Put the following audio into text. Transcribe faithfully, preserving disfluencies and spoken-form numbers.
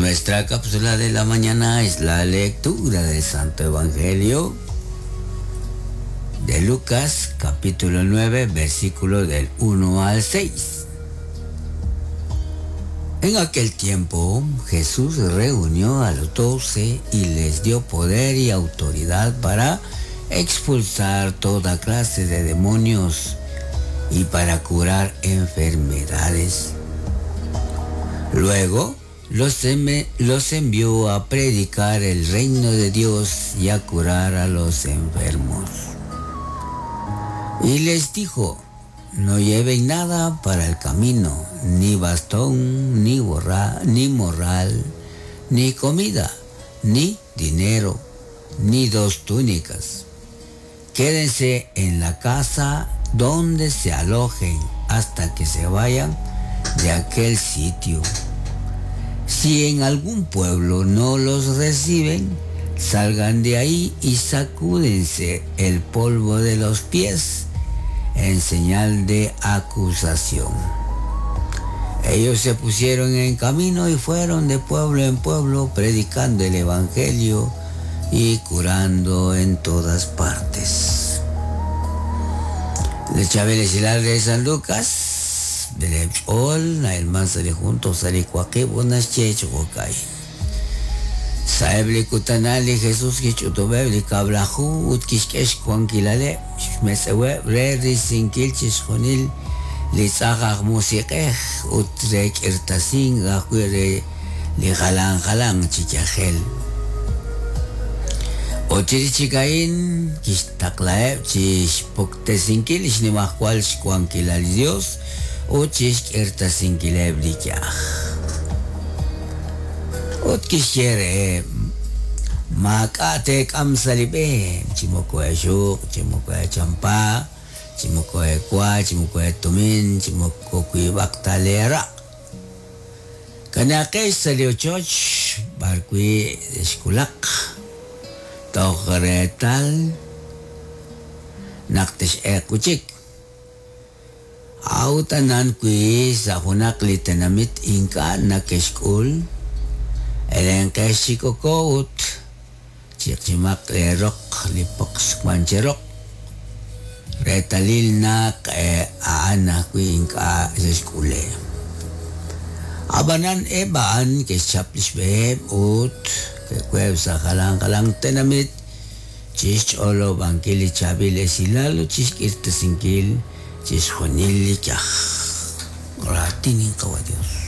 Nuestra cápsula de la mañana es la lectura del Santo Evangelio de Lucas, capítulo nueve, versículo del uno al seis. En aquel tiempo Jesús reunió a los doce y les dio poder y autoridad para expulsar toda clase de demonios y para curar enfermedades. Luego los, los envió a predicar el reino de Dios y a curar a los enfermos. Y les dijo: no lleven nada para el camino, ni bastón, ni borra, ni morral, ni comida, ni dinero, ni dos túnicas. Quédense en la casa donde se alojen hasta que se vayan de aquel sitio. Si en algún pueblo no los reciben, salgan de ahí y sacúdense el polvo de los pies en señal de acusación. Ellos se pusieron en camino y fueron de pueblo en pueblo predicando el evangelio y curando en todas partes. Le de San Lucas, de Ol, el manzale junto, Saebli kutanali Jesús kich'utub'eb li kab'laju ut kixk'ex xwankilale' xmetz'eweb' re risinkil chixjunil li tz'aj aj musiq'ej ut re k'irtasin ajwi' re li jalan jalan chi yajel. Ochirichikain kixtaqla'eb' chixpuktesinkil xnimajwal xwankilal li Dios ut chixk'irtasinkileb' li yaj. Ut kixye maak'a' teek'am sa' li b'e, chi moko exuq, chi moko echampa, chi moko ekwa, chi moko etumin, chi moko wiib'aq ta leeraq'. Kanaqex sa' li ochoch b'arwi' xkulaq toj reetal naq tix'eeq wi'chik. A'ut anan wi sa' junaq li tenamit ink'a' nakexk'ul, elenqex chi koko ut chiqchimaq leeroq li poqs wan cheroq reetalil naq a'an ajwi' ink'a' xexk'ule. Ab'anan eb' a'an ke'xchap li xb'eheb' ut ke'kueb' sa' jalan jalan tenamit chixch'olob'ankil li chaab'il esilal ut chixk'irtasinkil chixjunil li yaj. Raatin inqawa Dios.